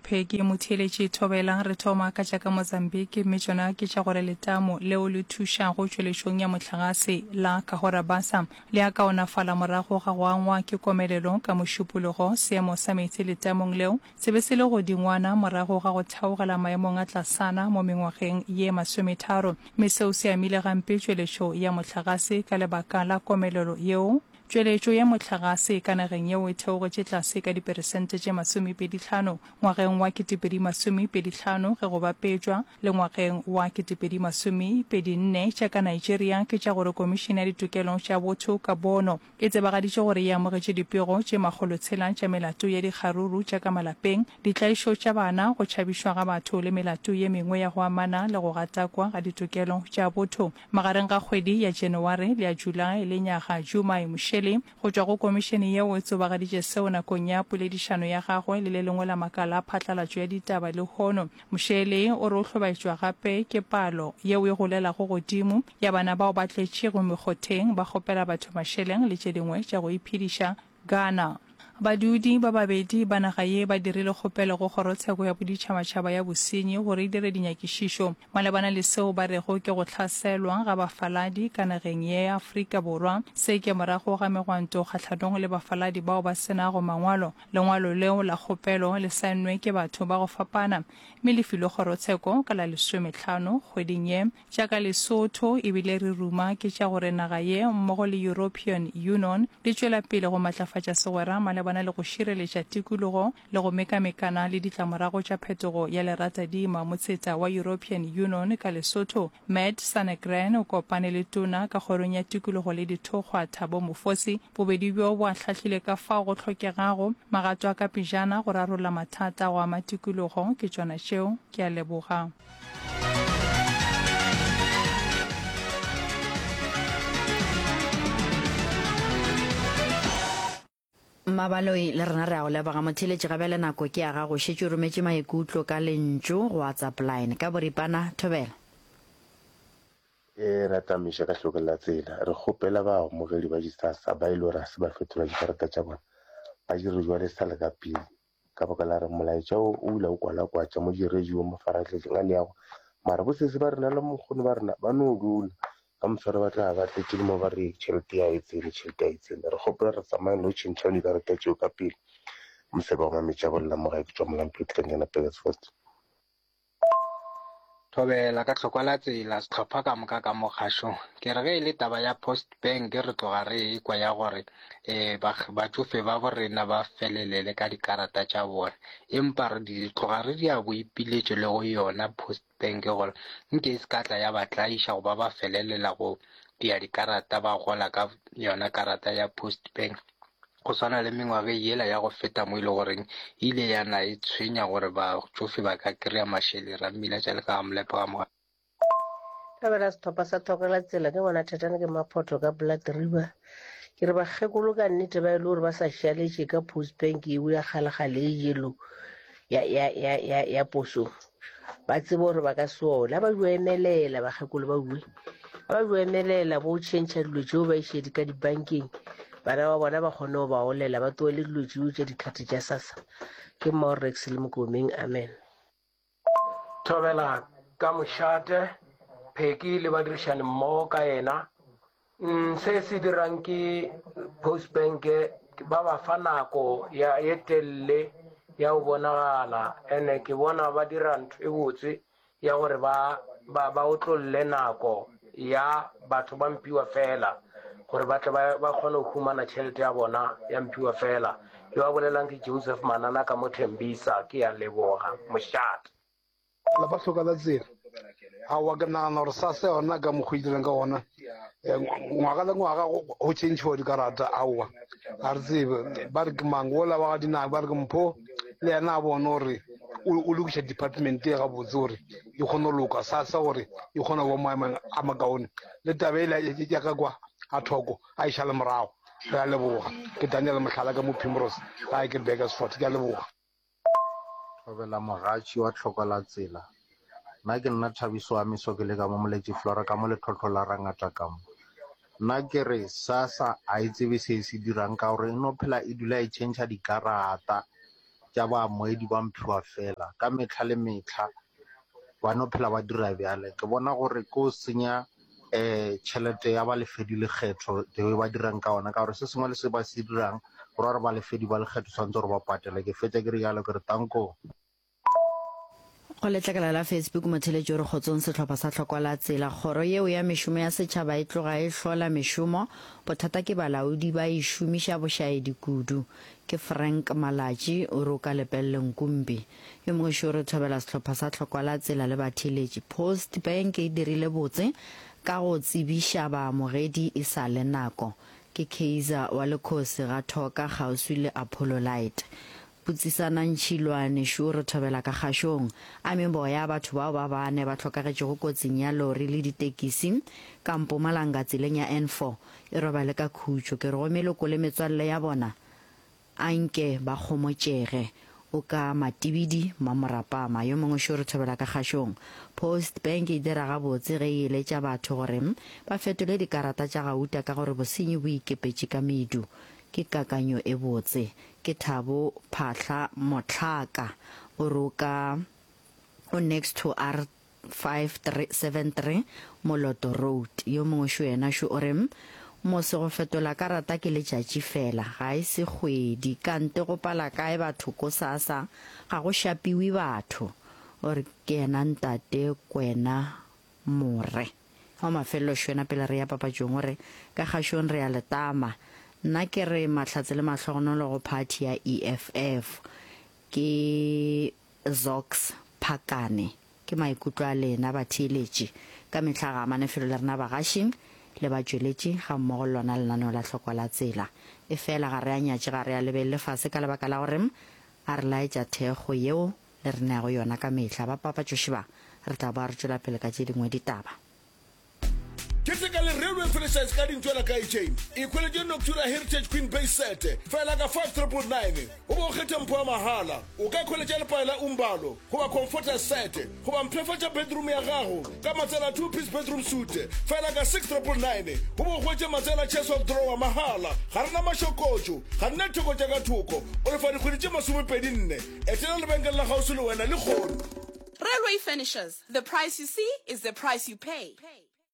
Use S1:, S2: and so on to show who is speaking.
S1: Pheki Motheeletši Thobela. Re thoma ka tša ka Mozambique mme tšona ke tša gore letamo leo le thušago tšweletšong ya mohlagase la Cahora Bassa le a kaonafala morago ga go angwa ke komelelo ka Mošupologo. Seemo sa meetse letamong leo se be se le godingwana morago ga go theogela maemong a tlasana mo mengwageng ye masometharo mme seo se amile gampe tšweletšo ya mohlagase ka lebaka la komelelo yeo. Tšweletšo ya mohlagase ka nageng yeo e theogetše tlase ka diperesente tše masomepedihlano ngwageng wa 2025 ge go bapetšwa le ngwageng wa 2024. Tša ka Nigeria ke tša gore Komišene ya Ditokelo tša Botho ka Bono e tsebagaditše gore e amogetše dipego tše makgolotshela tša melato ya dikgaruru tša ka malapeng, ditlaišo tša bana, go tšhabišwa ga batho le melato ye mengwe ya go amana le go gatakwa ga ditokelo tša botho. Magareng ga kgwedi ya Janaware le ya Julae lenyaga, Jumai Mshele go tšwa go komišene yeo e tsobagaditše seo nakong ya poledišano ya gagwe le le lengwe la makala a phatlalatšo ya ditaba lehono. Mshele o re o hlobaetšwa gape ke palo yeo e golelago godimo ya bana bao ba tletšego mekgotheng ba kgopela batho mašeleng le tše dingwe tša go iphediša Ghana. Badudi ba babedi ba naga ye ba dirile kgopelo go Kgorotsheko ya Boditšhabatšhaba ya Bosenyi gore e dire dinyakišišo malebana le seo ba rego ke go hlaselwa ga bafaladi ka nageng ye ya Afrika Borwa. Se ke morago ga megwanto kgahlanong le bafaladi bao ba se nago mangwalo. Lengwalo leo la kgopelo le saennwe ke batho ba go fapana mme le filwe kgorotsheko ka la lesomehlano kgweding ye. Tša ka Lesotho e bile re ruma ke tša gore naga ye mmogo le European Unon di tšwela pele go matlafatša segwera malebana le go šireletša tikologo le go mekamekana le ditlamorago tša phetogo ya leratadima. Motseta wa European Unon ka Lesotho, Matt Sanegren o kopane le Tona ka Kgorong ya Tikologo le Dithokgwa, Thabo Mofosi. Bobedi bjo bo ahlahlile ka fao go hlokegago magato a ka pejana go rarolla mathata a go ama tikologo. Ke tšona tšeo. Ke a leboga.
S2: Mmabaloi, le rena re a go leboga. Motheeletši ga bjale nako ke ya gago. Šetše o rometše maikutlo ka lentšu go WhatsApp line. Ka boripana, thobela.
S3: E ra tamiša ka hlokeng la tsela. Re kgopela baamogedi ba di-SASSA ba e le gore ga se ba fetola dikarata tša bona, ba dire jwalo e sa le ka pele. Ka baka la gore molaetša wo o ile o kwalakwatša mo di-radio, mafarahlahlang a leago. Mara bosese ba rena le mokgono ba rena ba no dula ka mosware ba tla ba tletše le mo ba re tšhelete ya e tsene, tšhelete ya e tsene. Re kgopela re tsamayeng le go tšhentšha dikarata tšeo ka pele. Mosebe wa Mametša bolela mo gae ke tšwa Molampedi ka Ngena Petersfort.
S4: Thobela ka tlhokwa la tsela sehlopha ka moka ka mo kgašong. Ke re ge e le taba ya Post Bank re tloga re ekwa ya gore um batšofe ba bo rena ba felelele ka dikarata tša bona, empa re di tloga re dia boipiletšo le go yona Post Bank gore nke e se ka tla ya ba tlaiša goba ba felelela go dia dikarata ba gola ka yona karata ya Post Bank. Go swana le mengwageng yela ya go feta mo e le goreng e ile ya na e tshwenya gore batšofe ba ka kry-a mašeleng, Rammila tša le ka ga Molepo ga Moga.
S5: Thabela sehlopha sa Thokela Tsela ke ngwana Thatane ke Maphoto ka Blood River. Ke re bakgekolo ka nnete ba e le gore ba sa šaletše ka post bank eo ya kgalekgale e yellow ya, ya, ya, ya, ya posong. Ba tsebe gore ba ka se ola. Ba jo emelela bakgekolo ba bue. Ba jo emelela bo tšhentšha dilo tšeo ba iše di ka dibankeng. Bana ba bona ba kgone go ba olela ba tlohele dilo tšeo tša dikgati tša SASSA. Ke Maurex le Mokomeng. Amen.
S6: Thobela ka mošate, Pheki le badirišani mmogo ka yena. Mm, se se dirang ke post bank ba ba fa nako ya ye telele ya go bonagala ene ke bona ba dira ntho e botse ya gore ba ba ba otlolle nako ya batho ba mpiwa fela gore ba tle ba ba kgone go humana tšhelete ya bona ya mpiwa fela yo a bolelang ke Joseph Manana ka mo Thembisa ke ya leboga mošate
S7: Lapa hloka la tsela. Aowa ke nagana gore SASSA yona ka mokgwa e dirang ka gona eh, ngwaga le ngwaga go change dikarata aowa ga re tsebe ba re ke mang ola wa ga dinako ba re ke mpho le yena a bone gore o lokiša department e gabotse gore e kgone go loka SASSA gore e kgone go ba maemong a makaone le taba ele ya ka kwa a thoko a e šale morago re a leboga ke Daniel Mohlala ka mo Primrose gae ke Burgersfort ke a leboga.
S8: Thobela mogatši wa tlhoko la tsela. Nna ke nna Thabiso wa Meso ke le ka mo Moletši Flora ka mo Letlhotlho la Rangata ka mo. Nna ke re SASSA a e tsebe se e se dirang ka gore e no phela e dula e tšhentšha dikarata. tša baamoedi ba mphiwa fela. Ka mehla le mehla ba no phela ba dira bjale. Ke bona gore ke go senya um tšhelete ya balefedi lekgetho the way ba dirang ka gona, ka gore se sengwe le se ba se dirang go ra gore balefedi ba lekgetho tshwanetse gore ba patele. Ke fetša ke re jalo ke re tanko.
S2: Go letlakala la Facebook motheletši o re kgotsong sehlopha sa hlokwa la tsela. Kgoro yeo ya mešomo ya setšhaba e tloga e hlola mešomo, bothata ke balaodi ba e šomiša bošaedi kudu. Ke Frank Malatši o re o ka Lepelle Nkumpi. Yo mongwe šo o re thobela sehlopha sa hlokwa la tsela le batheeletši. Post Bank e dirile botse ka go tsebiša baamogedi e sa le nako. Ke Kaizer wa Lekhosi ga Thoka kgauswi le Apollo Light. Botsisanang Tšhilwane šo re thobela ka kgašong. A meboya ya batho bao ba bane ba hlokagetšego kotsing ya lori le ditekisi ka Mpumalanga tseleng ya N4 e robale ka khutšo. Ke re go meloko le metswalle ya bona a nke ba kgomotšege. O ka Matibidi Mmamorapama. Yo mongwe šo re thobela ka kgašong. Post Bank e dira gabotse ge e eletša batho gore ba fetole dikarata tša gauta ka gore bosenyi bo ikepetše ka medu. Ke kakanyo e botse. Ke Thabo Phahla Mohlaka o re o ka o next to R5373 Moloto Road. Yo mongwe šo yena šo o re mose go fetola karata ke letšatši fela ga e se kgwedi kante go pala kae batho ko sasa ga go šapiwe batho. O re ke yena ntate Kwena More. Wa mafelelo Šwena pele re ya papatšong o re, Ka kgašong re a le tama. Nna ke re mahlatse le mahlogonolo go phathi ya EFF. Ke Zox Phakane. Ke maikutlo a lena batheeletši. Ka mehla ga amane felo le rena bagaši le batšweletši gammogo le lona lenaneo la Hlokwa la Tsela. Efela ga re a nyatše ga re a lebelele fase ka lebaka la gore a re laetša thekgo yeo le re neago yona ka mehla. Ba papatšoši ba, re tla boa re tšwela pele ka tše dingwe ditaba.
S9: Keteka le Railway Furnitures ka dintšwela ka Ejane. Ikhweletše Noctura Heritage Queen Base Set fela ka 5999 o be o kgethe mpho ya mahala. O ka ikhweletša lepae la Umbalo goba Comforter Set goba mpshafatša bedroom ya gago ka matsela Two Piece Bedroom Suite fela ka 6999 o be o hwetše matsela Chest of Drawer mahala. Ga re na mašokotšo, ga re na ditheko tša ka thoko. O lefa dikgwedi tše masomepedi-nne. Etela lebenkele la kgauswi le wena lehono.
S10: Railway Furnishers, the price you see is the price you pay.